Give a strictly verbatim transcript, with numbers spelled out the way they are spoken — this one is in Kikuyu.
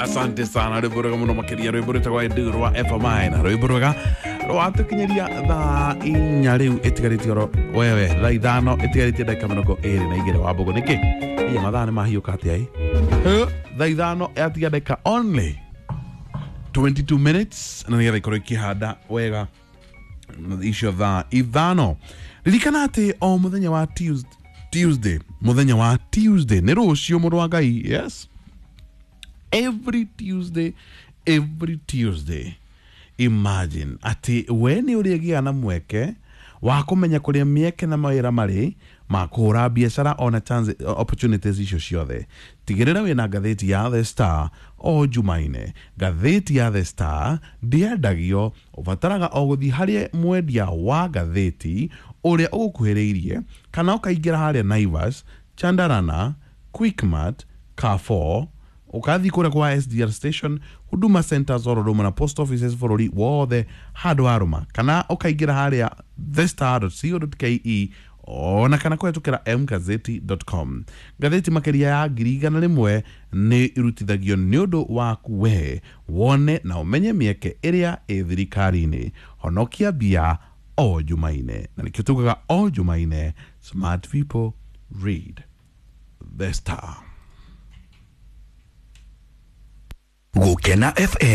Asante sana rwimbo rwega muno makiria rwimbo rwitagwo Edu rwa F M I na rwimbo rwega rwatukinyiria thaa inya riu itigarĩtie oro wewe thaa ithano itigarĩtie ndagĩka mĩrongo ĩrĩ na igĩrĩ wa mbũgũ nĩkĩ iya mathaa nĩ mahiũka atĩa ĩ thaa ithano yatiga ndagĩka only twenty-two minutes na nĩgetha ikorwo ikĩhanda wega icio thaa ithano. Ririkana atĩ o mũthenya wa Tuesday Tuesday mũthenya wa Tuesday nĩ rũciũ mũrũ wa Ngai, yes, every Tuesday, every Tuesday, imagine ati we nĩ ũrĩgĩa na mweke wa kũmenya kũrĩa mĩeke na mawĩra marĩ ma kũhũra biacara ona chance opportunities icio ciothe. Tigĩrĩra wĩna ngathĩti ya The Star o Jumaine. Ngathĩti ya The Star ndĩendagio, ũbataraga o gũthiĩ harĩ mwendia wa ngathĩti ũrĩa ũgũkuhĩrĩirie kana ũkaingĩra harĩa Naivas, Chandarana, Quickmart, Carrefour, ukathi kũrĩa kwa S D R station, Huduma Centers oro rũmwe na post offices bũrũri wothe handũ harũma, kana ũkaingĩra harĩa the star dot co dot k e ona kana kũhetũkĩra m gazeti dot com. Ngathĩti makĩria ya ngiri igana rĩmwe nĩ irutithagio nĩ ũndũ waku we wone na ũmenye mĩeke ĩrĩa ĩ thirikari-inĩ. Honokia mbia o Jumaine, na nĩkĩo tugaga o Jumaine, smart people read The Star. Gukena F M.